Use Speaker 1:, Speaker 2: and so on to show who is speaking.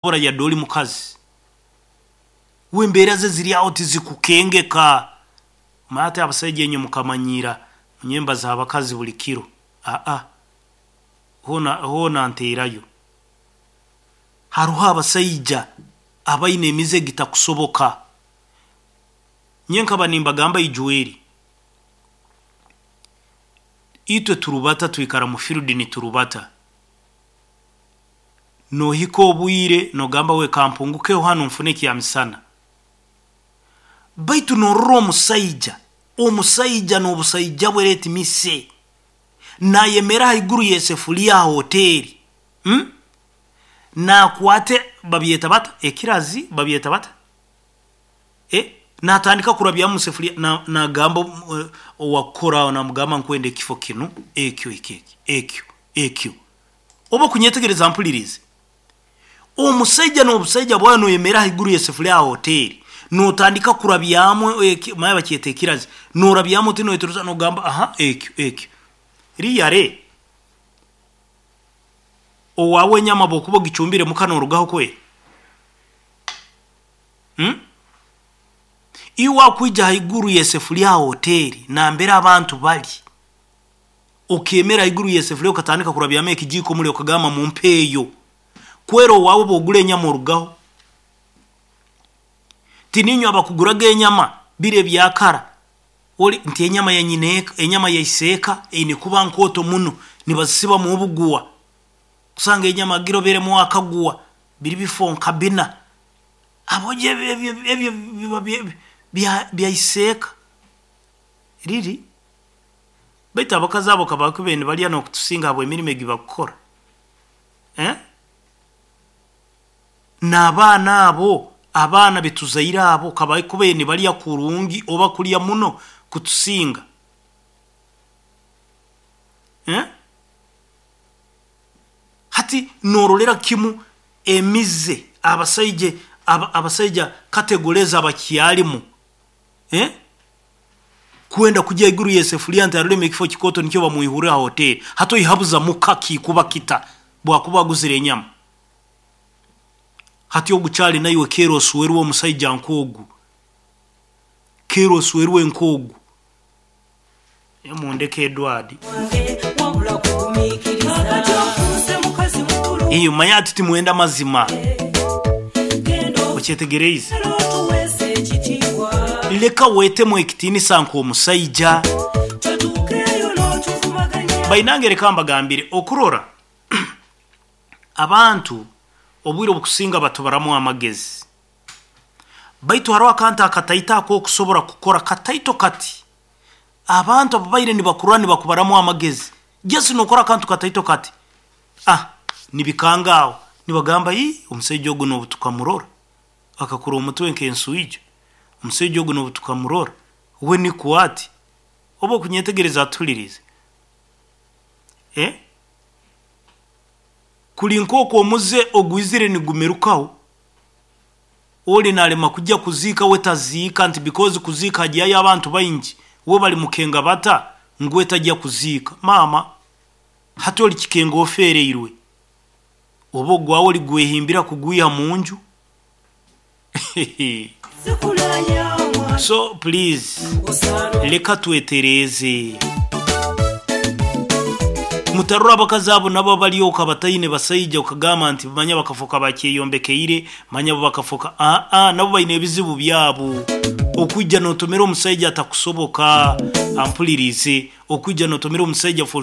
Speaker 1: Yadde oli mukazi, we embeera ze ziri aho tizikukengeka. Manya ati abasaija inywe mukamanyiira nyemba z'abakazi buli kiro. Aa, hoona hoona nteerayo. Haroho abasaija abaine emize egitakusoboka. Nyowe nkaba nimbagamba ijweri, itwe turubata twikara mu field niturubata, nohika obwire nogamba we kampungukeho hanu nfune ekyamisana, baitu norora omusaija, omusaija n'obusaija bwe, let me say, nayemeera haiguru y'esefuriya ha hoteeri, Nakwate babyeta bata ekirazi, babyeta bata, natandika kurabyamu musefuriya, nagamba owakukora aho, namugamba nkwenda ekifo kinu, ekyo, ekyo, ekyo, ekyo. Oba okunyetegereza mpulirize. Omusaija n'obusaija bwawe noyemeera haiguru y'esefuriya ha hoteeri, notandika kurabyamu, manya bakyeta ekirazi, norabyamu oti noyetoroza nogamba aha ekyo, ekyo. Really, owaawe enyama obu okuba ogicumbire muka norugaho kweri? Iwe wakwija haiguru y'esefuriya ha hoteeri nambere abantu bari, okeemera haiguru y'esefuriya okatandika kurabyamu ekijiiko muli okagamba mumpeeyo, kweri owaawe obu ogura enyama orugaho? Tiniinywe abakuguraga enyama biri ebya kara, ori nti enyama ya nyineeka, enyama ya iseeka eine kuba nkooto muno, nibazisibamu obuguwa, kusanga enyama agiroberemu akaguwa, biri bifo nka bina, habwoki ebyo biba bya iseeka, riri? Baitu abakazi abo kabakubaire nibarya nokutusinga habw'emirimo egi bakukora. N'abaana abo, abaana betuzaire abo kabakubaire nibarya kurungi oba kurya muno kutusinga. Hati norolera kimu emize abasaija abasaija category ezi abakyarimu, Kwenda kugya haiguru y'esefuriya nti aroremu ekifo kikooto nikyo bamwihurre ha hoteeri. Hati oihabuza muka kikuba kita bwakuba aguzire enyama? Hati ogu kyali naiwe keera oswerwe omusaija nk'ogu, keera oswerwe nk'ogu. Mundeke Edward. Iyo manya ati timwenda mazima. Okyetegereize? Leka wetemu ekitiinisa nk'omusaija. Bainange leka mbagambire, okurora abantu obwire obukusinga batubaramu amagezi. Baitu haroho akantu akataito akokusobora kukora kataito kati. Abantu ababaire nibakurora nibakubaramu amagezi, just nokora akantu kataito kati, ah nibikanga aho, nibagamba ii omusaija ogu nobu tukamurora akakura omutwe nk'enswijo, omusaija ogu nobu tukamurora we nikwo ati. Oba okunyetegereza atuhuliriize? Eh? Kuri nk'oku omuze ogwizire nigumirukaho, oli nalema kujya kuziika we taziika nti because kuziika hagyayo abantu baingi, we bali mukenga bata ngu we tajya kuziika. Maama, hati oli kikenga ofeereirwe, oba ogwawe oligwehimbira kugwiha munju? So please, leka twetereeze. Mutarora abakazi abo nabo abali okwo abataine basaija okagamba nti manya bakafoka bakyeyombekeire, manya bo bakafoka, aa nabo baine ebizibu byabo. Okwija notomera omusaija atakusoboka, ampulirize, okwija notomera omusaija for.